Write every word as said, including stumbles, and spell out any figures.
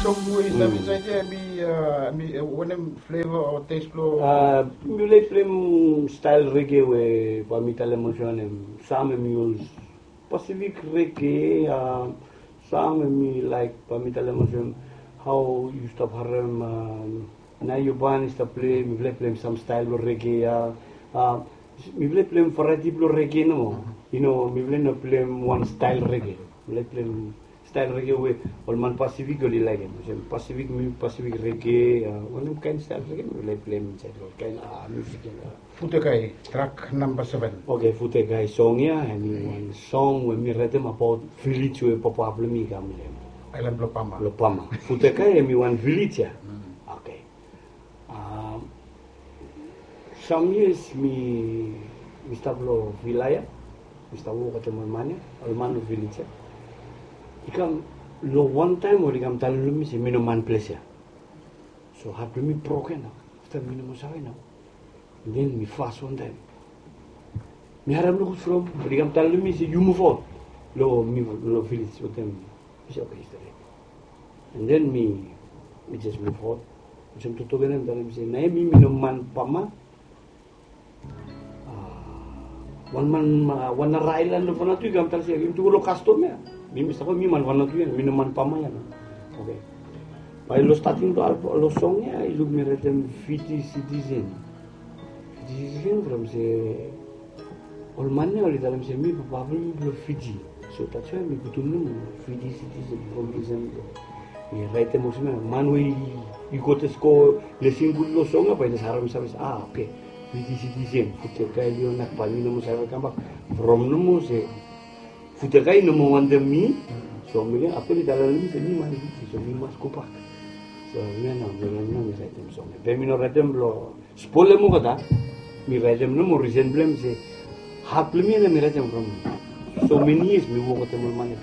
Song we i stap insaed ya, mi, uh, mi, uh, wanem flavor o taste blo? Uh, mi laik pleim style reggae we bae mi talem olsem wanem, sam hemi ol Pacific reggae, uh, sam hemi laik bae mi talem olsem, hao yu stap harem, um, Nayuban i stap pleim, mi laik pleim sam style blo reggae ya. Uh, mi laik pleim variety blo reggae nomo. You know, mi laik no pleim wan style reggae. Mi laik pleim style reggae we ol man Pacific oli laekem. Olsem Pacific, mi Pacific reggae, uh, wanem kaen style reggae mi laik pleim insaed lo kaen, uh, music ya. Futekai, track namba seven. Okay, Futekai song ya, hemi wan song we mi raetem abaot village we papa blo mi i kam lo hem. Aelan blo Pama. Lo Pama. Futekai hemi wan village ya. Okay. Um, some years mi, mi stap lo villa ya. Mi stap wok wetem ol man ya, ol man lo village ya. I kam lo wan taem oli kam talem lo mi se mi no man ples ya. So hat blo mi broken nao. Afta mi no moa save nao. Den mi fas wan taem. Mi harem luk from oli kam talem lo mi se yu muv aot lo mi lo village wetem. Mi se okay, stret. And then mi, mi jes muv aot. Olsem toktok ya mi talem se na mi, mi no man Pama. Ah, wan man, ah, wan nara aelan lo Vanuatu i kam talem se yumi tu go lo kastom ya. Mi, mi stap, mi man Vanuatu ya, mi no man Pama ya nao. Okay. Bae lo stating blo, lo song ya i luk mi raetem Fiji citizen. Fiji citizen from se ol man ya oli talem se mi papa blo mi blo Fiji. So that's why mi putum nomo Fiji citizen from listen to. Mi raetem olsem ya, man we i go jes go listen gud lo song ya bae i jes harem save se, ah, okay. Fiji citizen, Futekai Leonak, bae mi no moa save kambak from nomo se Futekai i no moa wantem mi. So mi, afta oli talem lo mi se mi man Fiji, so mi mas gobak. So mi nao, mi nao mi raetem song ya. Be mi no raetem lo spolem olgeta. Mi raetem nomo risen blo hem se hat blo mi ya nao mi raetem from so many years mi wok wetem ol man ya.